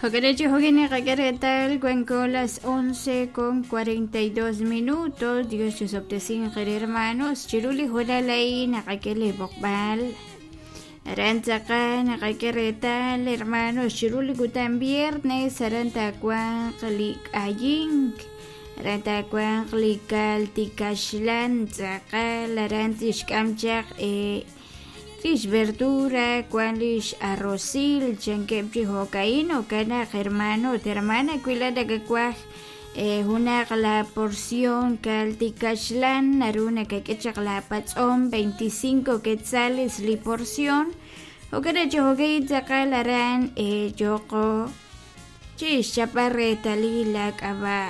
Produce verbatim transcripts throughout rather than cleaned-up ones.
Jokerechi jokini qakeretal cuenco las once con cuarenta y dos minutos. Dios chusoptesin hermanos. Chiruli jolalay naqakele boqbal. Arantzaka naqakeretal hermanos. Chiruli kutan viernes arantakuan qlik ayink. Arantakuan qlikal tikashlan tzaqal arantishkamchaq eh Lish verdura, cuan lish arrocil, chankepchi hokaino, kana hermano, hermana, cuilada que cuaj, una la porción calticashlan, naruna que quechak la patzón, veinticinco quetzales li porción, o kana chohokai tzakalaran, eh, yoko, chis chaparre talila kaba,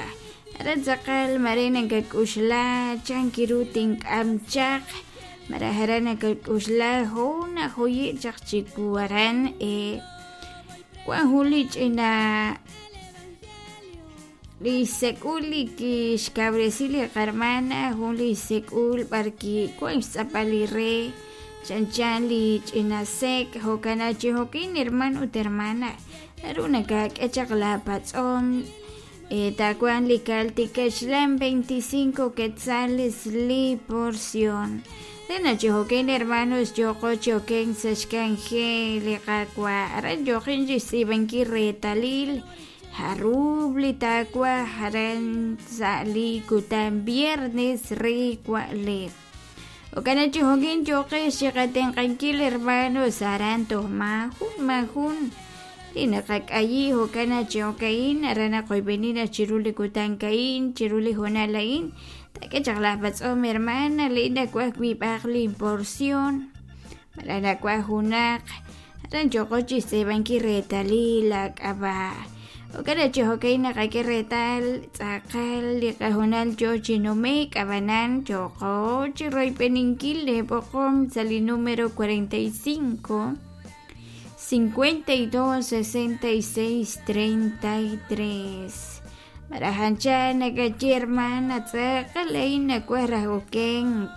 aran marina que kushla, chankirutin amchak, Marajarana kalkushla hona joyi chaqchikuaran eh Juan Julich ina lisekuli ki xkabresili qarmana jun lisekul barki kuan xtz'apali re chanchan li ch'inasek jokana chijokin hermano ut hermana naruna kak'echaq la patz'om eh takuan likaltikaxlan veinticinco quetzales li porción. Tena chihoken hermanos yoko choken sashkanje liqakwa aran yokin yisibanki retalil harubli takwa haran sali kutan viernes riqua le. Okana chihoken yoke shiqatenqankil hermanos aran tohmajun majun. Tinaqak'ayi hokana chihokain arana qoybenina chiruli kutankain chiruli jonalain. Que charla patz'om hermana lina kuaj wib'aj porción marana kuaj junaq aran yoqochi sebanki retalil ak'aba okana chojokay naqaki retal tz'aqal liqajunal yochinumek abanan yoqochi roypeninkil lepoqom sali número cuarenta y cinco cincuenta y dos sesenta y seis treinta y tres. Marajancha nakachi hermana tzaqalay nakuaj okenk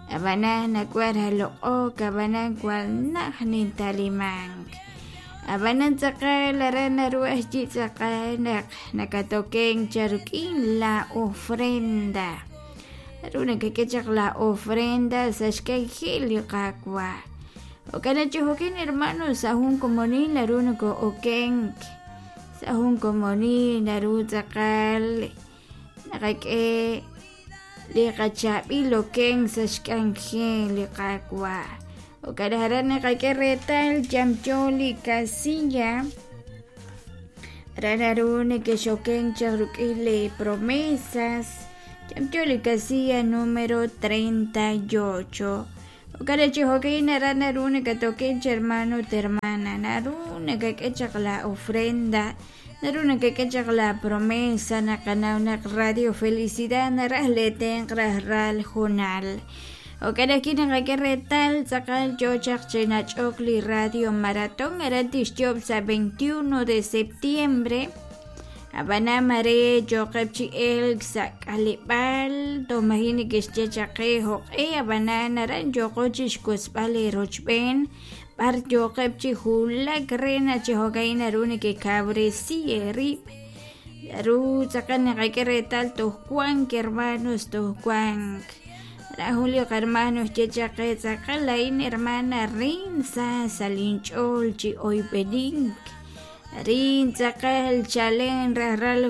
abanan nakuaj loq'ok abanan kual naj nintalimank abanan tzaqal aran naruaj chi tzaqal naq nakatoken charuk'in la ofrenda naru nakakechaq la ofrenda saxkay jil liqakwa okana chijokin hermanos sajun komonil naru nako okenk Sahun komoni naru tzaqal naqak'e liqachabi loken saxk'anje liqakwa okarajaran naqak'e retal yamcholi casilla rararu nekexoken charuk'ile promesas yamcholi casilla número treinta y ocho okarachi hokay naru nakatoken hermano hermana naru nakak'echaq la ofrenda naru nakak'echaq la promesa naqanaw naq Radio Felicidad naraj leten rajral junal okaraki naqak'e retal tzaqal yochaq chinach'ok li Radio Maratón aran tixyob sa veintiuno de septiembre abana mare yoqeb chi elk sa k'alib'al tomajini kixchechaqe joq'e abana naran yoqochi xkusb'al rochb'en bar yoqeb chi julak rena chi jokay naru nikikabresi erib naru tzaqal naqak'e retal tojkuank hermanos tojkuank rajulio hermanos chechaqe tzaqal lain hermana rin sa salinch'ol chi oyb'enink rin tzaqal chalen rajral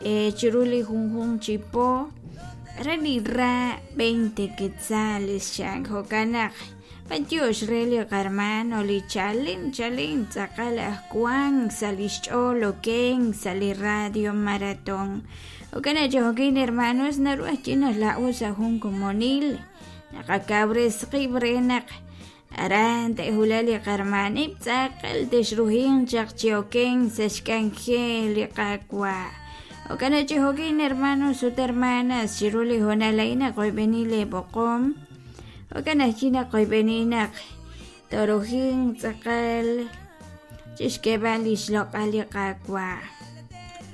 eh, chiruli junjun chipo rani ra veinte quetzales xan jokanaq patiox reli hermano li chalen chalen tzaqal ajkuan salixch'ol oken sali Radio Maratón okana chojokin hermanos naru ajchinas la'u sajun komonil naqakabres qib renaq aran tehulali qarmanib tzaqal texrujin chaqchioken saxkanje liqakwa okana chijokin hermanos ut hermanas chiruli jonalaina qoybenile boqom okana china qoybeninaq torojin tzaqal chixkebal ixloq'al liqakwa